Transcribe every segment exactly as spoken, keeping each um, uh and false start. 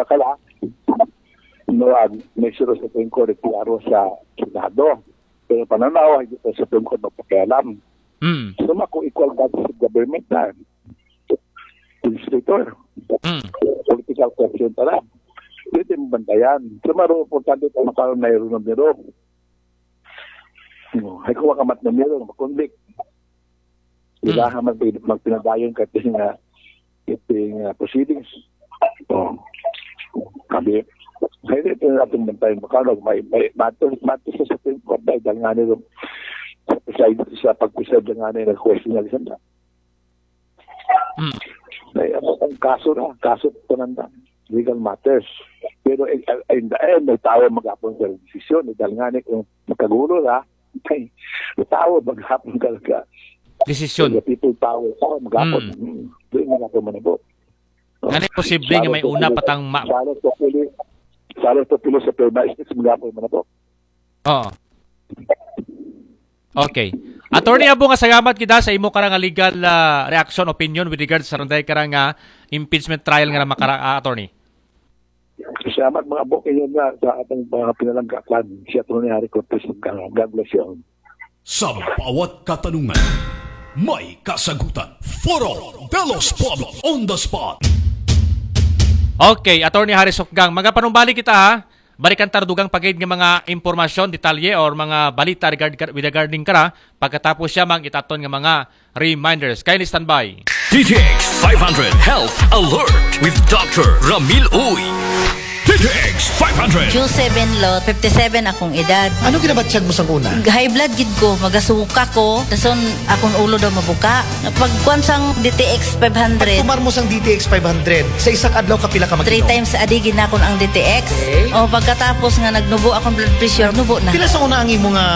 Bakala, no, ag, may siro sa Supreme Court, klaro sa Senado. Pero pananaw, hindi pa sa Supreme Court magpakialam. Mm. So, mako equal branches of government na. Legislator. Mm. Political question pala. Dito yung bantayan. So, maro importante pa makaroon na yung numero. No, ay kuha ka mat numero, makonvict. Wala ka mag magpinadayon ka ting uh, ting uh, proceedings. Oh. Sabi, ay ito yung ating bantayan. Makano, may, may matos, matos sa Supreme Court dahil nga nila sa preside, sa pag-preside nga nila ng question na isang Mm. Ay, ang, ang kaso na, kaso pa nanda, legal matters. Pero eh, eh, in the end, may tao mag-apon sa desisyon. Eh, dahil nga ni kung makagulo na, ay, may tao mag-apon talaga. Desisyon. The people power, tao mag-apon. Mm. Hmm. Doon mag-apon man po. Nga ni posible nga may una patang ma- Salos to pili, salos to pili sa purna is mag-apon man po. Oo. Okay. Attorney Abo, nga salamat kita sa imo karang legal ah, reaction, opinion with regards sa runday karang ah, impeachment trial nga makara ah, attorney. Salamat mga bok inyo nga sa atong mga pinalanggakan si Attorney Harry Cortez. God bless you. Sa bawat katanungan, may kasagutan. Foro de los Pueblos on the spot. Okay, Attorney Harry Sukgang, magapanumbalik kita ha. Balikan tar dugang pagid nga mga impormasyon, detalye or mga balita regard with regarding kara pagkatapos siya mang itaton nga mga reminders. Kaya ni standby. D T X five hundred Health Alert with Doctor Ramil Uy. D T X five hundred. Q seven lot, fifty-seven akong edad. Ano ginabatyag mo sa una? High blood gid ko, magasuka ko, dason akong ulo daw mabuka. Pagkuan sang D T X five hundred, Kumar mo sang D T X five hundred, sa isa ka adlaw kapila ka mag three times a day ginakon ang D T X. Okay. O pagkatapos nga nagnubo akong blood pressure, nubo na. Pila sa una ang imo nga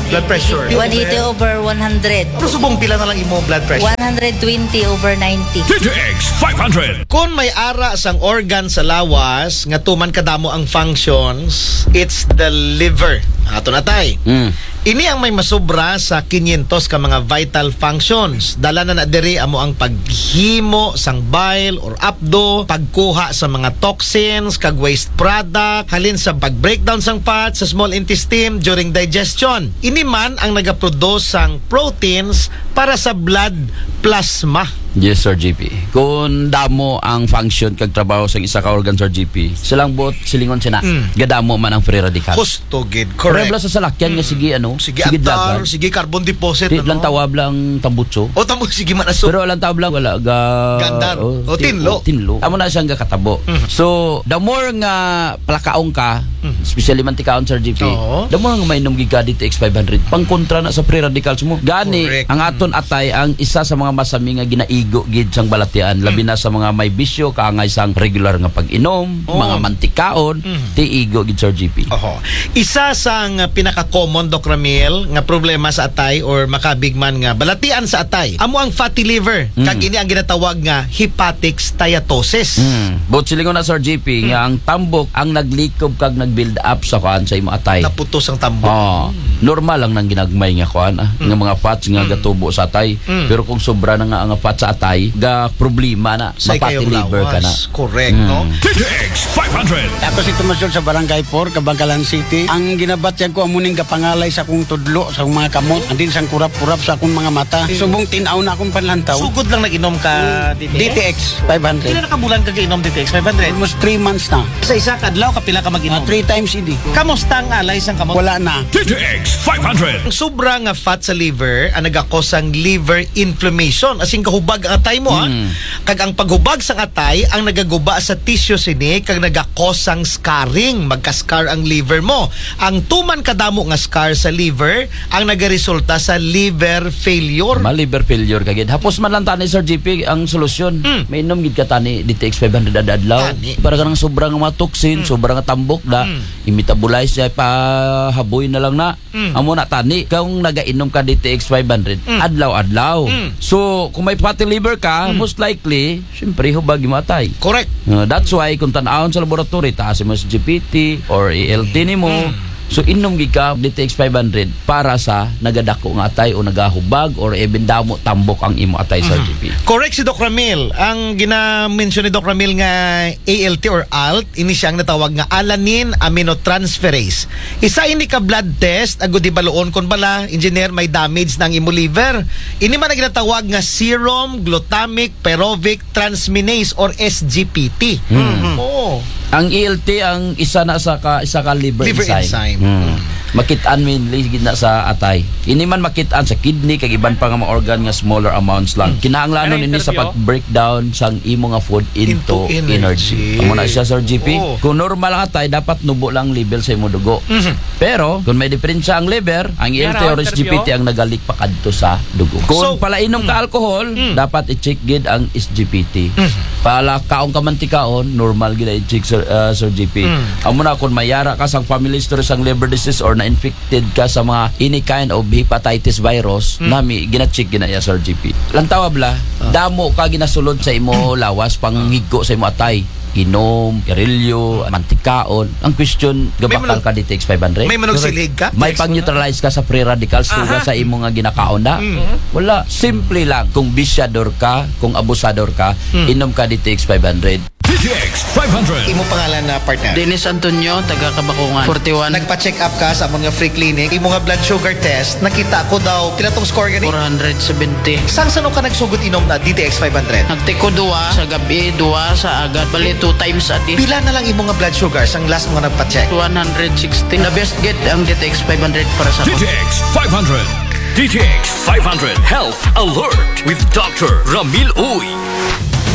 blood pressure? One eighty over one hundred. Pero subong pila na lang imo blood pressure? One hundred twenty over ninety. D T X five hundred. Kung may ara sang organ sa lawas nga tuman kadamo ang functions, it's the liver. Ato na tay. Mm. Ini ang may masubra sa kinyentos ka mga vital functions. Dala na na diri amo ang paghimo sang bile or apdo, pagkuha sa mga toxins kag waste product halin sa pag-breakdown sang fat sa small intestine during digestion. Ini man ang nagaproduce sang proteins para sa blood plasma. Yes, Sir G P. Kung damo ang function kag trabaho sa isa ka organ, Sir G P, silang buot silingon sina, Mm. gadamo man ang free radical. Husto gid, Pero correct. bala sa salakyan nga sige ano, Sige, sige atar, dagan. sige carbon deposit. Di ano? lang tawab lang tambutso. O tamo, sige man aso. Pero lang tawab lang wala ga Gandar. oh, O, ti- tinlo. oh, tinlo. Amo na siyang gatabo. Mhm. So, the more nga palakaon ka, Mhm. especially mantikaon, Sir G P, Oo. the more nga mainom gid ka D T X five hundred. Pangkontra na sa free radicals mo. Gani, Correct. ang aton atay ang isa sa mga masami nga ginaigo gid sang balatian, labi na sa mga may bisyo, kaangay sang regular nga pag-inom, Oo. mga mantikaon, Mhm. ti igo gid, Sir G P. Oho. Isa sang pinaka-common, Doc Ramil, nga problema sa atay or makabig man nga balatian sa atay, amo ang fatty liver. Mm. Kag ini ang ginatawag nga hepatic steatosis. Hmm. But silingon na, Sir G P, nga ang tambok ang naglikob kag nag-build up sa kuan sa imo atay. Naputos ang tambok. Oh, normal lang nang ginagmay nga kuan ah, nga mga fats nga gatubo sa atay. Mm. Pero kung sobra na nga ang fats sa atay, ga problema na, Sa ma-fatty ikayong liver ka na. lawas. Correct, Mm. no? D T X five hundred. Ako si Tomas Yul sa Barangay four, Kabangkalan City. Ang ginabatyag ko amo ning gapangalay sa akong tudlo, sa akong mga kamot, andin sang kurap-kurap sa akong mga mata. Subong tin-aw na akong panlantaw. Sugod lang nag-inom ka D T X? D T X five hundred. Pila na ka bulan ka giinom D T X five hundred? Almost three months na. Sa isa ka adlaw, kapila ka mag-inom? Mga three times a day. Kamusta ang alay sang kamot? Wala na. D T X five hundred. Ang sobra nga fat sa liver ang nagakos sang liver inflammation. As in, kahubag ang atay mo, ha? Mm. Kag ang paghubag sang atay ang nagaguba sa tissue sini kag nagakos sang scarring. Magka-scar ang liver mo. Ang tuman kadamo nga scar sa liver ang nagaresulta sa liver failure. Ma liver failure ka gid. Hapos man lang tani, Sir G P, ang solusyon. Mm. Mainom gid ka tani D T X five hundred adlaw. Tani. Para kanang sobra nga mga toxin, sobra nga tambok na, Mm. i-metabolize siya, pahaboy na lang na. Mm. Amo na tani, kung nagainom ka D T X five hundred, Mm. adlaw-adlaw. Mm. So, kung may fatty liver ka, Mm. most likely, siyempre, hubag imo atay. Correct. Uh, that's why, kung tan-awon sa laboratory, taas mo sa G P T or A L T nimo, Mm. so inom gid ka D T X five hundred para sa nagadako nga atay o nagahubag or even damo tambok ang imo atay, Sir Mhm. G P. Correct si Doc Ramil. Ang gina-mention ni Doc Ramil nga A L T or ALT, ini siya ang natawag nga alanine aminotransferase. Isa ini ka blood test, agud hibaluon kon bala, engineer, may damage na ang imo liver. Ini man ang ginatawag nga serum glutamic pyruvic transminase or S G P T. Hmm. Oo. Ang A L T ang isa na sa ka, isa ka liver, Liver enzyme. Hmm. Makit-an mainly gid na sa atay. Ini man makit-an sa kidney kag iban pa nga mga organ nga smaller amounts lang. Kinahanglanon Ano, ini sa interview? pag-breakdown sang imo nga food into, Into energy. energy. Amo na siya, Sir G P. Oo. Kung normal ang atay, dapat nubo lang ang level sa imo dugo. Mhm. Pero kung may diferensya ang liver, ang A L T Yara, or S G P T interview? ang nagalik pa kadto sa dugo. Kung So, palainom ka alcohol, Mm. dapat i-check gid ang S G P T. Mhm. Palakaon ka mantikaon, normal gid i-check, Sir, uh, Sir G P. Mm. Amo na kung may ara ka sang family history sang liver disease or na-infected ka sa mga any kind of hepatitis virus, Mm. nami gina-check gina ya, Sir G P. Lantawa bala, Ah. damo ka ginasulod sa imo lawas, panghigko sa imo atay. Inom, karilyo, mantikaon. Ang question, May gabakal manag- ka D T X five hundred? May managsilig ka? May pag-neutralize ka sa free radicals tuga sa imo nga ginakaon na? Mm. Wala. Simple lang. Kung bisyador ka, kung abusador ka, Mm. inom ka D T X five hundred. D T X five hundred. Imo pangalan na partner? Dennis Antonio, taga Kabakungan. Forty-one. Nagpa-check up ka sa amon nga free clinic. Imo nga blood sugar test, nakita ko daw, pila tong score gani? Four hundred seventy. Sang sano ka nagsugod inom na D T X five hundred? Nagtiko duwa sa gabi, duwa sa agad. Bali, two times a day. Pila na lang imo nga blood sugar sang last mo nga nagpa-check? One hundred sixty. The best gid ang D T X five hundred para sa D T X five hundred. D T X five hundred Health Alert with Doctor Ramil Uy.